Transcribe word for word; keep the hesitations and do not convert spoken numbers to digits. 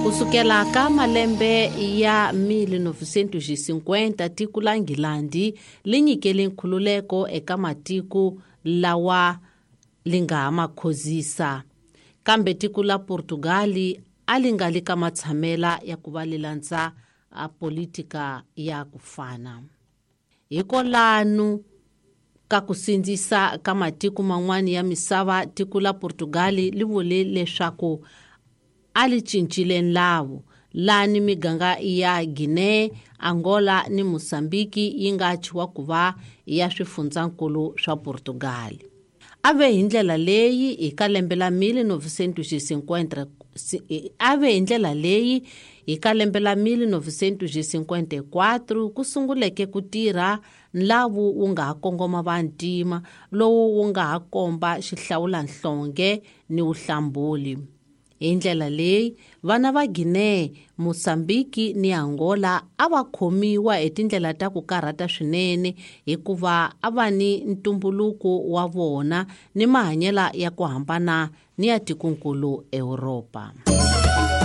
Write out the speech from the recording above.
Kusukela ka malembe ya mil novecentos cinquenta tiko la Nghilandi li nyikele nkhululeko eka matiko lawa li nga ha ma khozisa, kambe tiko la Portugal a li nga li ka matshamela ya ku va li landza a politika ya ku fana. Hikolanu ka ku sindzisa ka matiko man'wana ya misava, tiko la Portugal li vule leswaku a li cincile nlawu lani miganga ya Guinea, Angola ni Mozambique yi nga thyiwa ku va ya swifundzankulu swa Portugal. A ve hi ndlela leyi hi ka lembe la mil novecentos cinquenta, a ve hi ndlela leyi hi ka lembe la mil novecentos cinquenta e quatro ku sunguleke ku tirha nlawu wu nga ha kongoma vantima lowu wu nga ha komba xihlawulanhlonge ni vuhlambuli. Hi ndlela leyi vana va Guinea, Mozambique ni Angola a va khomiwa hi tindlela ta ku karhata swinene hikuva a va ni ntumbuluko wa vona ni mahanyelo ya ku hambana ni ya tikonkulu Europa.